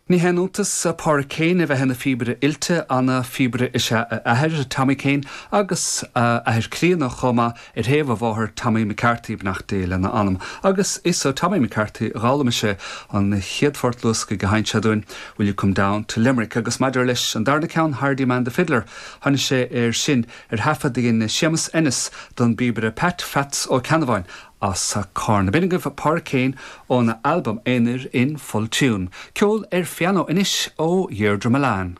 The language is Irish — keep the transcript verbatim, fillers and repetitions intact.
Ní haon iontas Pádraig Kane a bheith ina phíobaire oilte ana-phíobaire is ea a athair Tommy Kane agus athair críonna chomh maith ar thaobh a mháthar Tommy McCarthy beannacht Dé lena anam. Agus is ó Tommy McCarthy a d'fhoghlaim sé an chéad phort luasctha a sheinn sé dúinn Will You Come Down to Limerick agus maidir leis an darna ceann Hardy Man the Fiddler tháinig sé air sin ar thaifead a dhein Séamus Ennis don bpíobaire Pat Fats Ó Ceannabháin as Carna. B'in agaibh Pádraig Kane óna albam aonair in full tune. Ceol ar phianó anois ó Dheirdre Milan.